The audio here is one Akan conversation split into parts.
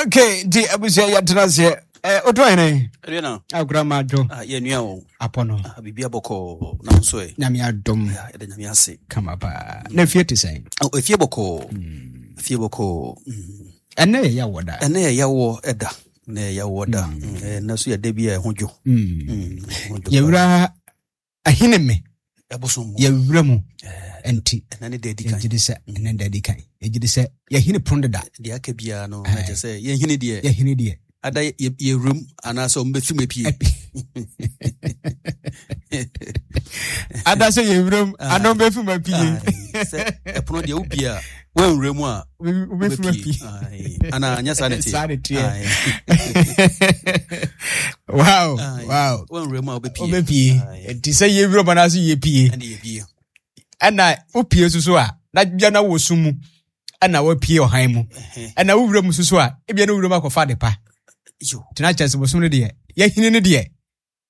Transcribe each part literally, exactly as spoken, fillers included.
Okay, nti abusua, yɛtena aseɛ. Eh, woto hene? Aduana. Akora ma adwo. Ah, yɛnua o. Apɔ no. Ah, biribi abɔkɔɔ na nso ɛ. Nyame adom. Yɛda Nyame ase. Kama paa. Na efie te sɛn? Oh, efie bɔkɔɔ. Mm. Efie bɔkɔɔ. Mm. Ɛnɛ yɛ yɛwɔ da. Ɛnɛ yɛ yɛwɔ ɛda. Ɛnɛ yɛ yɛwɔ da. Ɛnɛ so yɛ da bi a ɛho dwo. Mm. Yɛwura ahene me. Ɛbosom mu. Yɛwura mu. Nti. Ɛnɛ ne da adi kan. Yɛgye di sɛ ɛnɛ da adi kan. Yɛgye di sɛ yɛhene pono deda. Deɛ aka biara no na kyerɛ sɛ yɛhene deɛ. Yɛhene deɛ. Ada yɛwuram anaasɛ ɔmo bɛfi mu apue. Ada sɛ yɛwuram ana ɔmo bɛfi mu apue. Sɛ ɛpono deɛ wobie a woanwura mu a wobɛfi mu apue. Ana nyɛ saa ne teɛ. Saa ne teɛ. Wow, wow. Woanwura mu a wobɛpie. Wobɛpie. Nti sɛ yɛwuram anaasɛ yɛpie. Ɛne yɛpie. Ɛna wopie nso so a na bia na wɔ sum mu ɛna wapie ɔhan mu ɛna wowura mu nso so a ebia na wowura mu akɔfa ade pa. Tena kyerɛ sɛ bosom no deɛ yɛhini no deɛ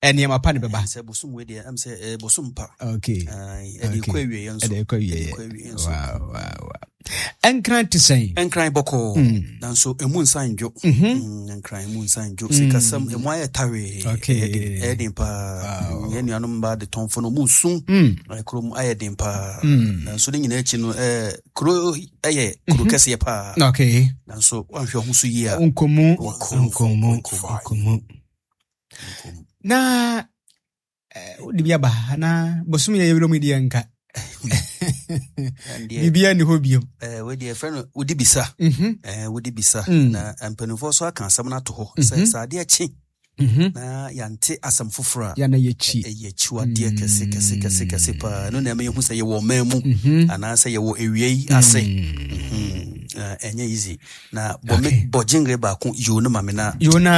nneɛma pa ne bɛba. Sɛ bosom wei deɛ ɛm sɛ bosom pa. Okay. Ɛde kɔ awieɛ nso. Ɛde kɔ awieɛ. Wow, wow, wow. Ɛnkran te sɛn? Ɛnkran bɔkɔɔ. Nanso emu nsa ndwo. Ɛnkran emu nsa ndwo. Sikasɛm emu ayɛ tawee. Okay. Ɛyɛ den paa. Yɛn nuanom mmaa de tɔnfo no ɔmo su. Kurom ayɛ den paa. Nanso ne nyinaa akyi no ɛɛ kuro ɛyɛ kuro kɛseɛ paa. Okay. Nanso wanhwɛ ho so yie a. Nkomu. Nkomu. Nkomu. Na wode bi aba na bosom yɛ yɛwura mu deɛ nka biribiara nni hɔ biom. Wei deɛ ɛfrɛ no wodi bisa. Wodi bisa na mpanimfoɔ so aka asɛm no ato hɔ sɛ sɛ adeɛ kye na yɛante asɛm foforɔ a yɛna yɛkyi ɛyɛ akyiwadeɛ kɛse kɛse kɛse kɛse paa. Ɛno na ɛma yɛhu sɛ yɛwɔ ɔman mu anaasɛ yɛwɔ awia yi ase. Ɛnyɛ easy. Na bɔ me bɔ gyengere baako yoo no ma me na. Yoo na.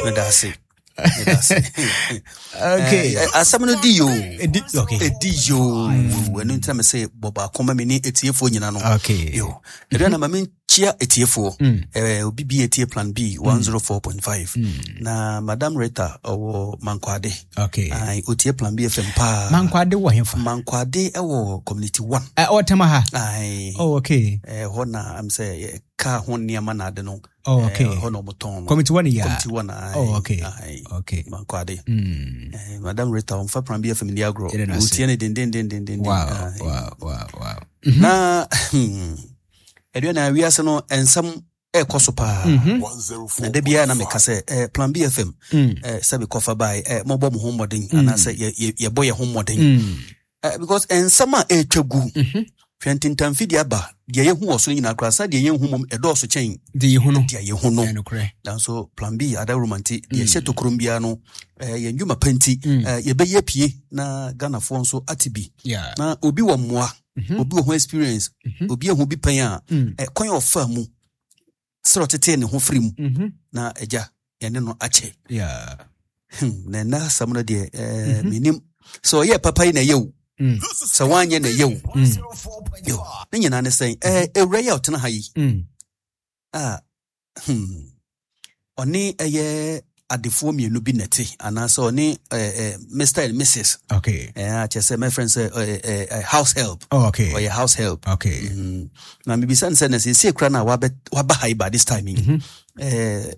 Meda ase. Okay. Asɛm no di yoo. Edi okay. Edi yoo. Ɛno nti na me sɛ bɔ baako ma me ne etiefoɔ nyina no. Okay. Yo. Ɛdɛ na ma me nkyia etiefoɔ. Eh, obi bi etie Plan B one oh four point five. Na Madam Rita ɔwɔ Mankwade. Okay. Ai, otie Plan B F M paa. Mankwade wɔ hefa? Mankwade ɛwɔ Community One. Eh, ɔwɔ Tema ha. Ai. Oh, okay. Eh, hɔ na am sɛ kaa ho nneɛma na ade no. Oh, okay. Hɔ na ɔmo tɔn no. Community One ya. Community One. Oh, okay. Okay. Mankwade. Mm. Eh, Madam Rita ɔmfa Plan B F M ni agorɔ. Otie ne den den den den den. Wow, wow, wow, wow. Na ɛdeɛ na wiase no nsɛm ɛkɔ so paa. Na da biara na meka sɛ eh, Plan B F M eh, sɛ mekɔfa bae eh, mɔbɔ mo ho mmɔden anaasɛ yɛbɔ yɛ ho mmɔden. Eh, because nsɛm a ɛtwa gu hwɛ ntentamfidie aba deɛ yɛhu wɔ so no nyinaa koraa sɛ deɛ yɛnhu mmom ɛdɔɔso kyɛn deɛ yɛhu no. Deɛ yɛhu no. Nanso Plan B adawuruma nti deɛ ɛhyɛ tokurom biara no yɛn dwuma pa nti yɛbɛyɛ pie na Ghanafoɔ nso ate bi. Na obi wɔ mmoa, obi wɔ ho experience, obi ehu bi pɛn a kwan a ɔfa mu sɛ ɔtetee ne ho firi mu na agya yɛne no akyɛ. Na ɛnna asɛm no deɛ menim sɛ ɔyɛ papa yi na ɛyɛ o. Sɛ woanyɛ na ɛyɛ o. Ne nyinaa ne sɛn ewura yi a ɔtena ha yi a ɔne ɛyɛ adefoɔ mmienu bi nɛte anaasɛ ɔne Mister and Missus Okay. Eh, kyerɛ sɛ my friend sɛ house help. Oh, okay. Ɔyɛ house help. Okay. Na mebisa ne sɛ na sɛ kura na waba ha yi by this time yi. Eh,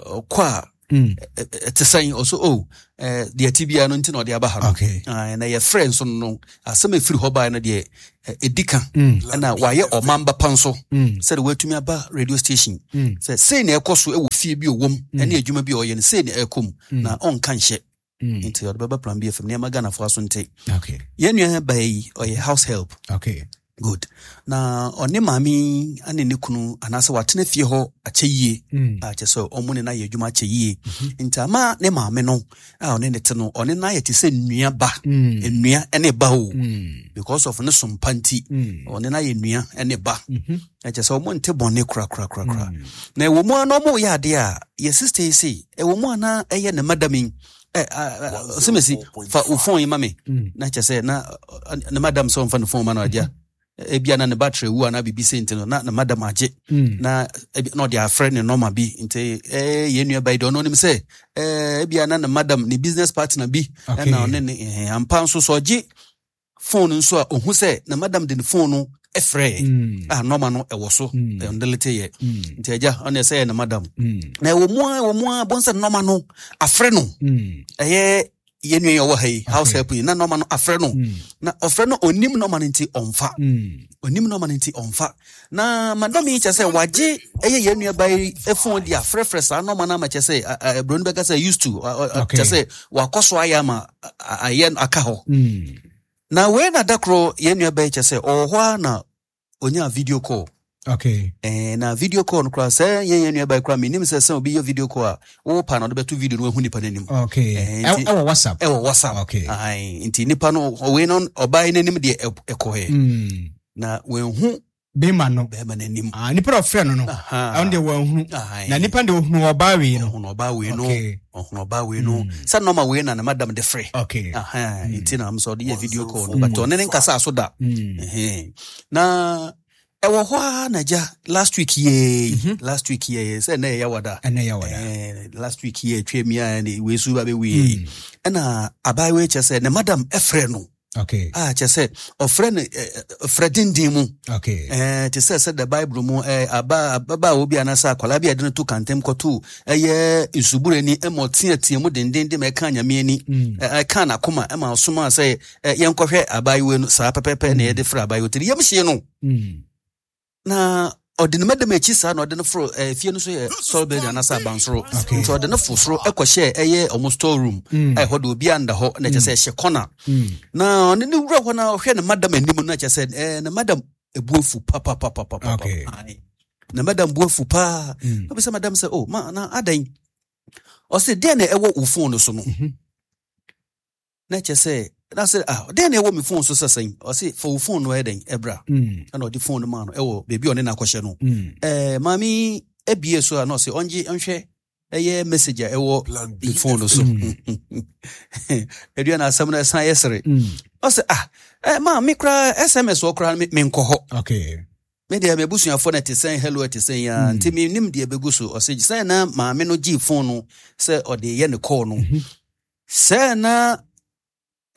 ɔkɔ a ɛte sɛn ɔso oh deɛ ti biara no nti na ɔde aba ha no. Okay. Na yɛ friend nso no asɛm efiri hɔ baa no deɛ ɛdi ka. Ɛna wayɛ ɔman ba pa nso sɛde watumi aba radio station. Sɛ sei na ɛkɔ so ɛwɔ fie bi ɔwɔ mu ɛne adwuma bi ɔyɛ no sei na ɛkɔ mu na ɔnka nhyɛ. Nti ɔde bɛba Plan B F M nneɛma Ghanafoɔ aso nte. Okay. Yɛn nua baa yi ɔyɛ house help. Okay. Good. Na ɔne maame ane ne kunu anaasɛ watena fie hɔ akyɛ yie. A kyɛ sɛ ɔmo ne na yɛ adwuma akyɛ yie. Nti ama ne maame no a ɔne ne te no ɔne na yɛ te sɛ nnua ba. Nnua ne ba o. Because of ne sompa nti ɔne na yɛ nnua ne ba. Kyɛ sɛ ɔmo nte bɔne kora kora kora kora. Na ɛwɔ mu a na ɔmo yɛ adeɛ a yɛ sister yi se ɛwɔ mu a na ɛyɛ ne madam yi. Eh, sɛ mesi fa wo phone yi ma me. Na kyɛ sɛ na ne madam sɛ ɔmfa ne phone ma no agya. Ebia na ne battery wu ana bibi sɛ no na na madam agye na na ɔde afrɛ ne nɔma bi nti eh yɛn nua ba yi de ɔno nim sɛ eh ebia na ne madam ne business partner bi na ɔne ne ampa nso so ɔgye phone nso a ohu sɛ na madam de ne phone no Ɛfrɛ Mm. a nɔma no ɛwɔ so. Mm. Ɛndelete yɛ. Mm. Nti agya, ɔne ɛsɛ yɛ ne madam. Mm. Na ɛwɔ mu a, ɛwɔ mu a, bɔn sɛ nɔma no afrɛ no. Mm. Ɛyɛ yɛn nua yi a ɔwɔ ha yi, house Okay. help yi, na nɔma no afrɛ no. Mm. Na ɔfrɛ no, onim nɔma no nti ɔmfa. Mm. Onim nɔma no nti ɔmfa. Na madam yi kyɛ sɛ wagye ɛyɛ yɛn nua ba yi phone de afrɛfrɛ saa nɔma no ama kyɛ sɛ ɛ, ɛ, buroni bɛka sɛ used to ɔ- ɔ- Okay. kyɛ sɛ wakɔ so ayɛ ama a- a- ayɛ aka hɔ. Mm. Na wei na da koro yɛn nua ba yi kyɛ sɛ ɔwɔ hɔ a na onya video call. Okay. Eh, na video call no koraa sɛ yɛn yɛn nua ba yi koraa menim sɛ sɛ obi yɛ video call a, wopa na ɔde bɛto video no, wahu nipa n'anim. Okay. Eh, Ɛ- nti- Ɛwɔ WhatsApp. Ɛwɔ WhatsApp. Okay. Ae, nti nipa no ɔwei no, ɔbaa yi n'anim deɛ ɛ- ɛkɔɛ Mm. na wanhu Bɛrima no. bɛrima n'anim. Ah, nipa na ɔfrɛ no no. Aha. Ɛno deɛ wanhunu. Ae. Na nipa deɛ ohunu ɔbaa wei no. Ɔhunu ɔbaa wei no. Okay. Ɔhunu ɔbaa wei no sɛ nɔma wei na ne madam de frɛ. Okay. Aha, nti na sɛ ɔde yɛ video call no, but ɔne ne nkasa so da. Mm. Ɛhɛn. Na ɛwɔ hɔ a na gya last week yee, last week yee, sɛ ɛnɛ yɛ wada. Ɛnɛ yɛ wada. Eh, last week yɛ atwa mi a ne wei so ba bɛwie, ɛna abaayewa yi kyerɛ sɛ ne madam ɛfrɛ no. Okay. A kyerɛ sɛ ɔfrɛ no ɛ, ɛ, ɔfrɛ denden mu. Okay. Eh, te sɛ sɛ the Bible mu eh, aba ababaawa bi anaasɛ akwadaa bi a yɛde no to kantɛm kɔto ɛyɛ nsuburani ɛma ɔteatea mu dendenden ma ɛka Nyame ani. Mm. ɛ- ɛka n'akoma ɛma ɔsoma sɛ ɛ, yɛnkɔhwɛ abaayewa no saa pɛpɛpɛ na yɛde frɛ abaayewa tiri yam hyie no. Mm. Na ɔde ne madam akyi saa na ɔde no foro eh, fie no so yɛ store building anaasɛ abansoro. Okay. Nti ɔde no fo soro ɛkɔhyɛ ɛyɛ ɔmo store room. Mm. A ɛhɔ de obi anda hɔ na kyerɛ sɛ ɛhyɛ corner. Mm. Na ɔne ne wura hɔ na ɔhwɛ ne madam anim no na kyerɛ sɛ eh, ne madam ebu afu papapapapa. Okay. Ne madam bu afu paa. Mm. Na obisa madam sɛ, "Oh ma, na adan?" Ɔsɛ, "Deɛ na ɛwɔ wo phone no so no?" Mhm. Na kyerɛ sɛ na sɛ, "Ah, deɛ na ɛwɔ me phone so sɛ sɛn?" Ɔsɛ, "Fa wo phone no ɛyɛ dɛn ɛbra." Mm. Ɛna ɔde phone no maa no ɛwɔ beebi a ɔne no akɔhyɛ no. Mm. ɛɛ maame ebie so a na ɔsɛ ɔngye nhwɛ ɛyɛ message a ɛwɔ ne phone no so. Edua na asɛm no ɛsan yɛ sere. Mm. Ɔsɛ, "Ah, ɛ maa me koraa S M S wɔ koraa me menkɔ hɔ. Okay. Me deɛ, m'abusuafoɔ no ɛte sɛn, hello ɛte sɛn ya, Mm. nti menim deɛ ɛbɛgu so." Ɔsɛ sɛ na maame no gyee phone no sɛ ɔde yɛ ne call no, Mhm. sɛ na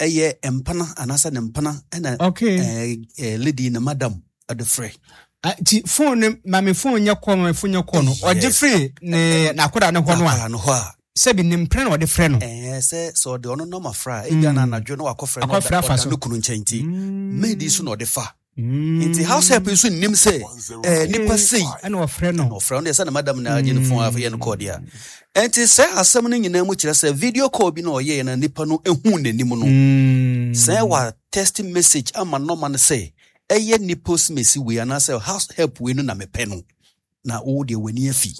ɛyɛ mpana anaasɛ ne mpana ɛna Okay. ɛɛ ɛɛ lady ne madam ɔde frɛ. Ah, nti phone no, maame phone nyɛ call, maame phone nyɛ call no, ɔgye Yes. firi ne n'akwadaa ne hɔ no a, Akwadaa no hɔ a, sɛbi ne mpena na ɔde frɛ no. Ɛɛ sɛ sɛ ɔde ɔno nɔma frɛ a, ebia na anadwo na wakɔfrɛ no. Akɔfrɛ ɔda afa ɔda so. ne kunu nkyɛn nti Mm. maid so na ɔde fa. Mm. Nti house help nso nnim sɛ ɛɛ nipa sei ɛna ɔfrɛ no. Na ɔfrɛ no deɛ sɛ ne madam na agye ne phone afɛ yɛ no call deɛ a. Ɛnti sɛ asɛm no nyinaa mu kyerɛ sɛ video call bi na ɔyɛɛ na nipa no ehu n'anim no. Mm. Sɛ wa text message ama nɔma no sɛ ɛyɛ nipa osimesi wei anaasɛ house help wei no na mepɛ no, na wo deɛ w'ani afi.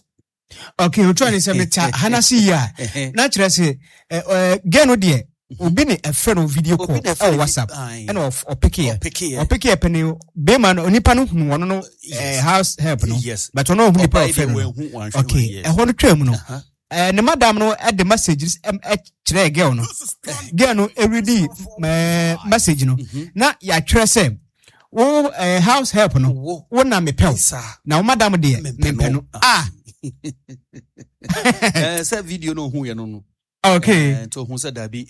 Okay, otu ani sɛ meta hana se yi a, na kyerɛ sɛ ɛ ɛ girl no deɛ, obi ne ɛfrɛ no video call Obi na ɛfrɛ ɛwɔ no WhatsApp. Aye. Ɛna ɔf- ɔpekeɛ. Ɔpekeɛ. Ɔpekeɛ pɛ ne bɛrima no, onipa no hunu ɔno no ɛɛ Yes. house help no. Yes. But ɔno ɔhu nipa a Ɔbaa yi ɔfrɛ deɛ no. wanhu, wanhwɛ. Okay. Yes. Ɛhɔ no twaa mu no, Aha. ɛɛ ne madam no ɛde message ɛm ɛkyerɛ girl no. Girl no ɛredi ɛɛ message no na yɛatwerɛ sɛ wo ɛɛ house help no, Wo. wo na mepɛ wo. Saa. Na wo madam deɛ, mempɛ mempɛ no. no ah. Ɛɛ, sɛ video no ohu yɛ no no okay Ɛɛ, nti ohun sɛ dabi,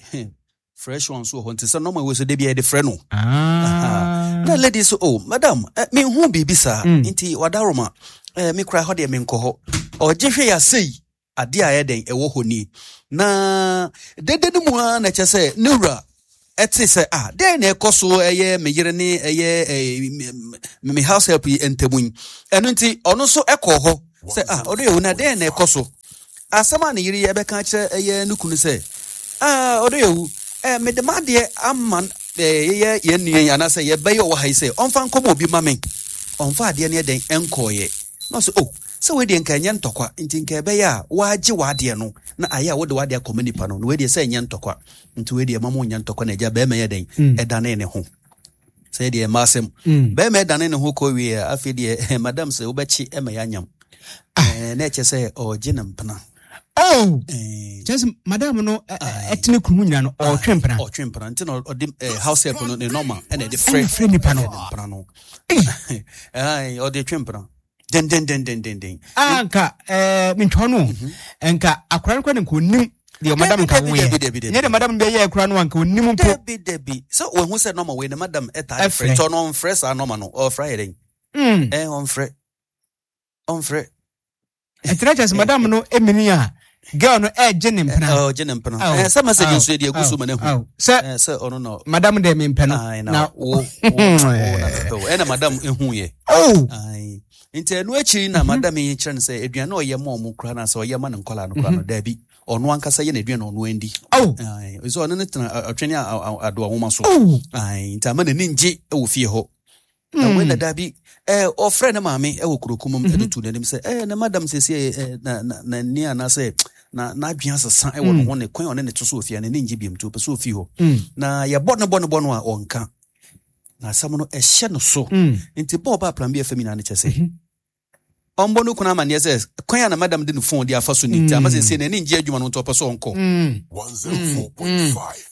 fresh one so wɔ hɔ, nti sɛ nɔma wei so de bi a yɛde frɛ no. Ah. Na lady so, "Oh madam, eh, menhu biribi saa." Mm. Nti wadaroma eh, me kora hɔ deɛ menkɔ hɔ. Ɔgye hwɛ yɛ asɛi adeɛ a ɛyɛ dɛn ɛwɔ hɔ ni. Na dede no mu a na kyerɛ sɛ ne wura ɛte sɛ, ah, dɛn na ɛkɔ so ɛyɛ me yere ne ɛyɛ eh, me me house help yi ntamu yi? Ɛno nti ɔno nso ɛkɔɔ hɔ sɛ, "Ah, ɔdo yɛ wo, na dɛn na ɛkɔ so?" Asɛm a ne yere yɛ bɛka kyerɛ ɛyɛ ne kunu sɛ, "Ah, ɔdo yɛ wu, eh, mede m'adeɛ ama eh, yɛyɛ yɛn nua yi anaasɛ yɛbɛyɛ ɔwɔ ha yi sɛ ɔmfa nkɔma obi ma me, ɔmfa adeɛ no yɛ dɛn ɛnkɔɔyɛ." Na ɔsɛ, "Oh, sɛ wei deɛ nka ɛnyɛ ntɔkwa, nti nka ɛbɛyɛ a woagye w'adeɛ no na ayɛ a wode w'adeɛ akɔma nipa no, na wei deɛ sɛ ɛnyɛ ntɔkwa, nti wei deɛ ma mo nyɛ ntɔkwa." Na agya bɛrima yɛ dɛn Mm. ɛdane ne ho sɛ deɛ ɛma asɛm. Mm. Bɛrima ɛdane ne ho kɔ wie a, afei deɛ madam sɛ wobɛkye ɛma yɛanyam. Eh, na ɛkyɛ sɛ ɔgye ne mpena. Oh. Eh, Kyerɛ sɛ madam no ɛ- ɛ- ɛtene kunu ho nyina no, ɔtwe mpena. Ɔtwe mpena, nti na ɔde eh, house help no ne nɔma ɛna ɛde frɛ. Ɛna frɛ nipa no. Ɛna ne mpena no. Ai, ɔde twe mpena dendendendendenden. Ah, nka ɛɛ mentwa no, nka akwadaa no kora ne nka onim Deɛ madam nka woyɛ nyɛ de madam bɛyɛ kora no anka onim mpo. Dabi dabi, sɛ wahu sɛ nɔma wei ne madam ɛtaa de frɛ, nti ɔno ɔmfrɛ saa nɔma no, ɔfrɛ ayɛ dɛn? Ɛ ɔmfrɛ ɔmfrɛ. Ɛnti kyerɛ sɛ madam no emini a girl no ɛgye ne mpena. Ɔgye ne mpena. Ɛ sɛ message nso yɛ de egu so ma ne hu. Sɛ sɛ ɔno na madam de me mpɛ no na wo wo na mepɛ wo, ɛna madam ehu yɛ. Oh. Nti ɛno akyiri na madam yi kyerɛ no sɛ aduane a ɔyɛ ma ɔmo kora na sɛ ɔyɛ ma ne nkɔla no kora no, daabi, ɔno ankasa yɛ n'aduane ɔno andi. Oh. Sɛ ɔno ne tena ɔtwene adoa nwoma so. Nti ama n'ani ngye wɔ fie hɔ. Na wei na daabi, ɔfrɛ ne maame wɔ kurokum mu de tu n'anim sɛ ɛɛ ne madam sɛsi na na n'ani anaasɛ na n'adwene asesa wɔ ne ho, ne kwan a ɔne ne to so wɔ fie n'ani ngye biom, nti ɔpɛ sɛ ofi hɔ. Na yɛbɔ ne bɔ ne bɔ no a ɔnka. Na asɛm no ɛhyɛ no so. Nti bɔɔ ba Plan B F M nyinaa ne kyɛ sɛ ɔmbɔ no kunu amanneɛ sɛ kwan a na madam de ne phone de afa so ni, nti ama sɛ n'ani ngye adwuma no, nti ɔpɛ sɛ ɔnkɔ.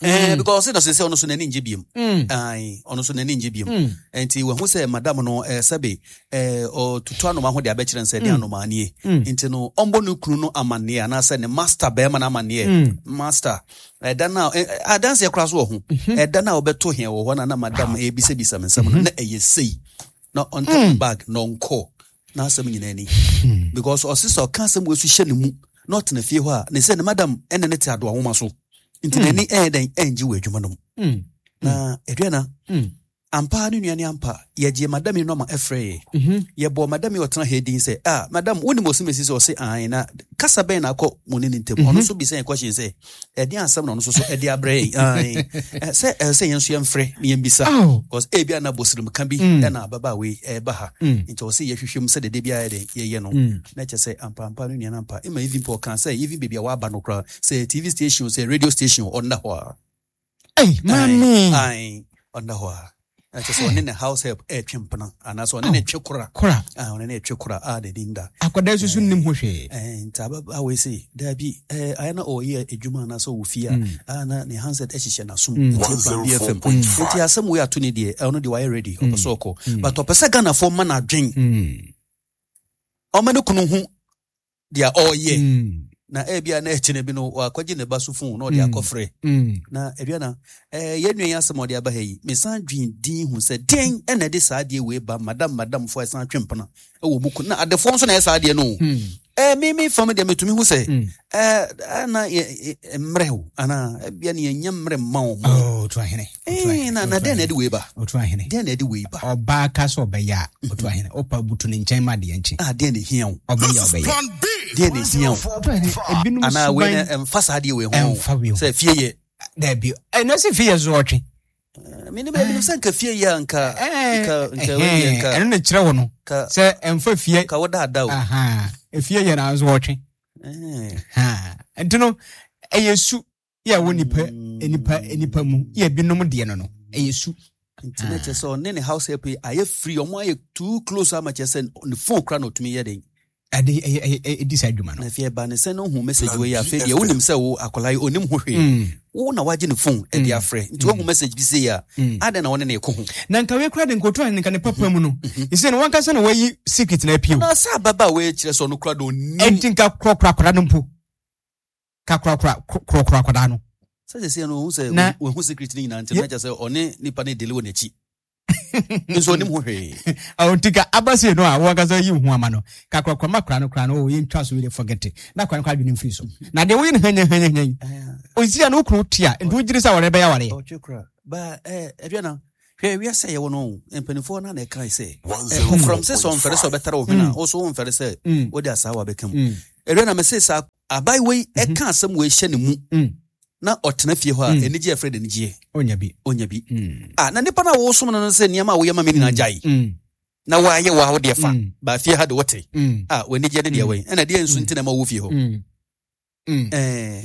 Eh, because ɔsɛ na sɛ ɔno so n'ani ngye biom. Ae, ɔno so n'ani ngye biom. Nti wahu sɛ madam no eh, sɛbe eh, ɔtutu anoma ho de abɛkyerɛ sɛ de anoma nie. Nti no ɔmbɔ no kunu no amanneɛ anaasɛ ne master bɛrima no amanneɛ. Master, ɛda no a adanseɛ koraa so wɔ ho. Ɛda no a wɔbɛto hɛn wɔ hɔ na na madam ebisabisa me nsɛm no na ɛyɛ sei. Na ɔntɔ bag na ɔnkɔ. Na asɛm nyinaa ni. Because ɔse sɛ ɔka asɛm wɔ so hyɛ ne mu na ɔtena fie hɔ a, ne sɛ ne madam ɛne ne te adoa nwoma so. Nti n'ani ɛyɛ dɛn ɛngye wɔ adwuma no mu. Na aduana, ampa ne nua ne ampa, yɛgye madam yi nɔma ɛfrɛ yɛ. Yɛbɔ madam yi ɔtena ha din sɛ, ah madam, wonim ɔse mesi sɛ ɔse ae, na kasa bɛn na akɔ mo ne ne ntam. Ɔno nso bisa yɛn question sɛ, ɛde asɛm na ɔno nso so ɛde abrɛ yɛn. Ae, sɛ ɛsɛ yɛn nso yɛmfrɛ na yɛmbisa. Because ebi ana bɔsirim ka bi ɛna ababaawa yi ɛba ha. Nti ɔse yɛhwehwɛ mu sɛ dede biara yɛ yɛyɛ no. Na kyerɛ sɛ ampa ampa no nua no ampa. Ɛma even po ɔka sɛ even baabi a waba no koraa, sɛ T V station, sɛ radio station, ɔnna hɔ a. Ei, mami. Ae, ɔnna hɔ a. Na kyerɛ sɛ ɔne ne house help ɛretwe mpena anaasɛ ɔne ne twe kora. Kora. Ah, ɔne ne twe kora a n'ani nda. Akwadaa nso so nnim ho hwee. Eh, nti ababaawa yi se daabi, eh, ayɛ na ɔyɛ adwuma anaasɛ ɔwɔ fie a, a na ne handset ɛhyehyɛ n'asom. Nti Plan B F M. Nti asɛm wei ato ne deɛ, ɔno deɛ wayɛ ready, ɔpɛ sɛ ɔkɔ. But ɔpɛ sɛ Ghanafoɔ ma n'adwen. Ɔma ne kunu ho deɛ ɔreyɛ. Na ebia na ɛkyene bi no wakɔgye ne ba so phone na ɔde akɔfrɛ. Na aduana, eh, yɛn nua yi asɛm ɔde aba ha yi, mesan dwen din hu sɛ den ɛna ɛde saa adeɛ wei ba madam madam fo ɛsan twe mpena ɛwɔ mu kun. Na adefoɔ nso na ɛyɛ saa adeɛ no. Eh, me me fam deɛ metumi hu sɛ, eh, na mmerɛ o, ana ebia ne yɛnyɛ mmerɛ mma wɔn. Oh, otu ahene. Eh, na na den na ɛde wei ba. Otu ahene. Den na ɛde wei ba. Ɔbaa ka sɛ ɔbɛyɛ a, otu ahene. Ɔpa butu ne nkyɛn ma adeɛ nkye. Ah, den na ehia o. Ɔbɛyɛ ɔbɛyɛ. Den na ehia o. Ebinom ana wei na ɛmfa saa adeɛ wei ho. Ɛmfa wei ho. Sɛ fie yɛ. Dabi. Ɛno sɛ fie yɛ so ɔtwe. Me ne baabi sɛ nka fie yɛ nka nka nka wei yɛ nka. Ɛno na kyerɛ wo no. Sɛ ɛmfa fie. Ka wo daadaa o. Aha. Efie yɛ na nso ɔtwe. Ha. Nti no ɛyɛ su yɛ wɔ nipa nipa nipa mu yɛ binom deɛ no no ɛyɛ su. Nti na kyerɛ sɛ ɔne ne house help yi ayɛ free, ɔmo ayɛ too close ama kyerɛ sɛ ne phone kora na ɔtumi yɛ den. Ade ɛyɛ ɛyɛ ɛdi saa adwuma no. Na afei ɛba ne sɛ ne ho message wei afei deɛ wonim sɛ wo akwadaa yi onim ho hwee. Wo na wagye ne phone ɛde afrɛ. Nti wohu message bi sei a, adɛn na wo ne ne kɔ ho? Na nka wei kora de nkoto a nka ne papa mu no. Ɛsɛ no wankasa na wayi secret na apue. Na sɛ ababaawa wei kyerɛ sɛ ɔno kora de onim. Ɛnti nka korɔkorɔ akwadaa no mpo. Ka korɔkorɔ korɔkorɔ akwadaa no. Sɛ sɛ sɛ no ohu sɛ ohu secret ne nyinaa nti na kyerɛ sɛ ɔne nipa ne deli wɔ n'akyi. Nso onim ho hwee. Awo nti ka abase no a wankasa yi ho ama no. Ka korɔkorɔ ma kora no kora no o yɛntwa so yɛ forget it. Na kora no kora adwene mfiri so. Na deɛ woyɛ no hanya hanya hanya. Osi a no kunu tia nti wogyere sɛ wɔre bɛyɛ aware. Ɔtwe kora. Ba eh aduana hwɛ wiase a yɛwɔ no mpanimfoɔ na na ɛkae sɛ ɔfrɔm sɛ sɛ ɔmfɛre sɛ ɔbɛtare wo hwene a wo so womfɛre sɛ wode asaa wabɛka mu. Aduana mese saa abayewa yi ɛka asɛm wei hyɛ ne mu na ɔtena fie hɔ a anigye ɛfrɛ de anigyeɛ. Onya bi. Onya bi. Ah, na nipa na wɔsom no no sɛ nneɛma a woyɛ ma me nyinaa gyae. Na wɔayɛ wɔ a wode fa. Ba fie ha de wote. Ah, w'anigyeɛ ne deɛ wɛn. Ɛna deɛ nso nti na ɛma wo fie hɔ. Eh.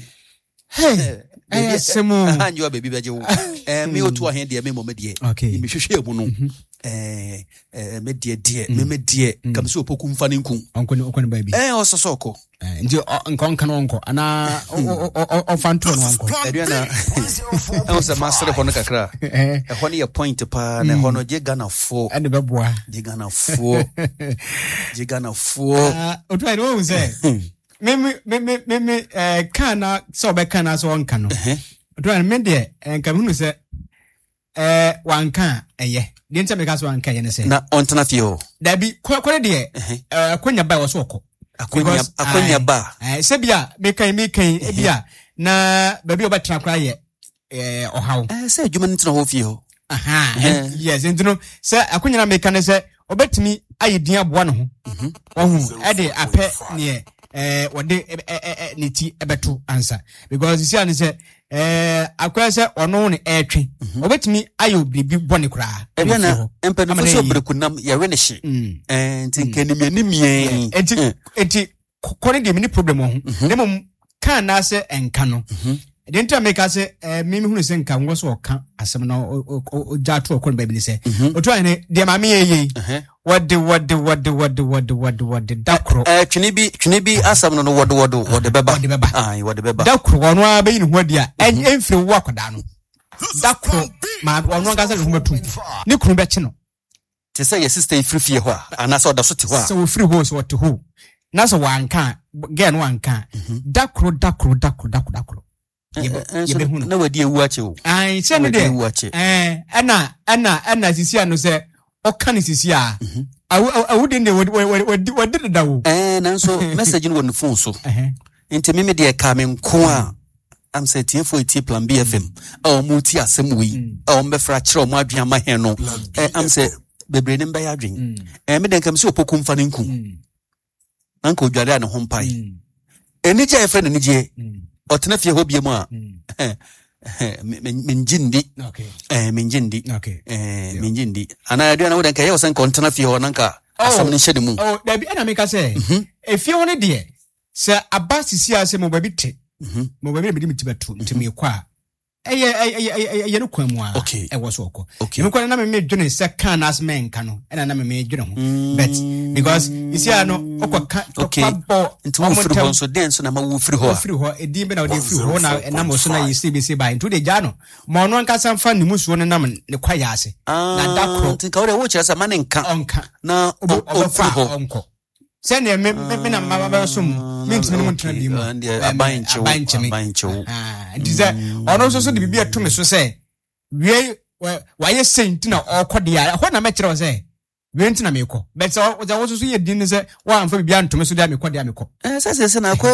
Hey, ɛyɛ asɛm o. Aha nyewa baabi bɛgye wo. Eh, me otu ahe deɛ me mmɔ me deɛ. Okay. Mehwehwɛ mu no. Eh, eh, me deɛ deɛ, me me deɛ. Kam sɛ opoku mfa ne nku. Ɔnkɔ ne ɔnkɔ ne baabi. Eh, ɔsɔ sɛ ɔkɔ. Eh, nti nka ɔnka no ɔnkɔ anaa ɔfa ntoɔ no ɔnkɔ. Aduana, ɛho sɛ masere hɔ no kakra. Ɛhɔ no yɛ point paa na ɛhɔ no gye Ghanafoɔ. Ɛne bɛboa. Gye Ghanafoɔ. Gye Ghanafoɔ. Otu ayɛ no wɔn sɛ Me me me me me me ɛɛ kan na sɛ ɔbɛka na sɛ ɔnka no. Ɔtɔ me deɛ, nka mehunu sɛ ɛɛ wanka a ɛyɛ. Deɛ nti a meka sɛ wanka ɛyɛ ne sɛ. Na ɔntena fie hɔ. Dabi, kɔ kɔ ne deɛ, ɛɛ akonya ba ɛwɔ so ɔkɔ. Akonya akonya ba. Ɛɛ sɛ bi a meka yi meka yi ebi a na baabi a ɔbɛtena koraa yɛ ɛɛ ɔhaw. Ɛɛ sɛ adwuma no tena hɔ fie hɔ. Aha, yes, nti no sɛ akonya na meka ne sɛ ɔbɛtumi ayɛ din aboa ne ho. Ɔhu ɛde apɛ neɛ ɛɛ wɔde ɛ ɛ ne ti ɛbɛto ansa, because sisi a ne sɛ ɛɛ akɔyɛ sɛ ɔno ne ɛɛtwe, ɔbɛtumi ayɛ biribi bɔne koraa. Ɛbia na mpanyinfo sɛ ɔbrɛkunam yɛwe ne hye. Ɛɛ nti nka nimie. Nti nti kɔ ne deɛ, mi ni problem wɔ ho, ne mmom kan anaasɛ ɛnka no deɛ nti a meka sɛ ɛɛ mi hunu sɛ nka ngɔ so ɔka asɛm na ɔgya ato ɔkɔ no baabi ne sɛ otu ahene deɛ maame yɛ yie, wɔde wɔde wɔde wɔde wɔde wɔde wɔde da koro. Ɛɛ twene bi twene bi asɛm no no wɔde wɔde wɔde bɛba. Wɔde bɛba. Ayi, wɔde bɛba. Da koro ɔno ara bɛyi ne ho adi a ɛnfiri wo akwadaa no. Da koro maa ɔno ankasa ne ho bɛtum, ne kunu bɛkye no. Te sɛ yɛ sister yi firi fie hɔ a, anaasɛ ɔda so te hɔ a. Sɛ wɔfiri hɔ, sɛ ɔte hɔ na sɛ wanka a, girl no wanka a, da koro, da koro, da koro, da koro, da koro yɛbɛhu no. Na wadi ewu akyɛ o. Ayi, sɛ no deɛ ɛɛ ɛna ɛna ɛna sisi ano sɛ ɔka ne sisi a awu awu de deɛ wɔdi wɔdi deda o. Ɛɛ nanso message no wɔ ne phone so, nti mímí deɛ kaa mi nko a am sɛ tiefo etie Plan B F M a wɔn ti asɛm wei a wɔn bɛfra akyerɛ wɔn adwene ama hɛn no, ɛ am sɛ bebree ne mbɛyɛ adwene. Ɛɛ mi deɛ nka mi sɛ Opoku nfa ne nku na nka odware a ne ho mpae anigye a yɛfrɛ no anigyeɛ ɔtena fie hɔ bie mu a, mengye ndi, mengye ndi, mengye ndi. Anaa aduane wo dɛ nka ɛyɛ wɔ sɛ nka ɔntena fie hɔ na nka asɛm no nhyɛ ne mu? Dabi, ɛna meka sɛ efie hɔ no deɛ, sɛ aba sisi a sɛ mo baabi te mo baabi na mede me ti bɛto nti mekɔ a, ɛyɛ ɛyɛ ɛyɛ no kwan mu a ɛwɔ so ɔkɔ. Ɛmu kwan na meme dwene sɛ kan na asɛm ɛnka no, ɛna na meme dwene ho, but because esi a no ɔkɔ ka tɔkwa bɔ. Nti wo firi hɔ nso, den nso na ma wo firi hɔ a? Firi hɔ, edin bɛ na ɔde firi hɔ na ɛnam ɔso na yɛsi bi si ba, nti o de gya no ma ɔno ankasa nfa ne mu suo no nam ne kwa yɛ ase na da koro. Nti nka wo de wo kyerɛ sɛ ma ne nka. Ɔnka. Na ɔmfiri hɔ. Ɔnkɔ sɛnea me me me na mma bɛbɛ so mu, me ntumi ne mu ntena bi mu. Aban nkyew. Aban nkyeme. Aban nkyew. Nti sɛ ɔno nso so de biribi ato me so sɛ wie wayɛ sɛn nti na ɔkɔ deɛ a, ɛhɔ na mɛkyerɛ wo sɛ wie nti na mekɔ, but sɛ sɛ wo nso so yɛ din ne sɛ woamfa biribi anto me so deɛ a, mekɔ deɛ a mekɔ. Sɛ sɛ sɛ na akɔ.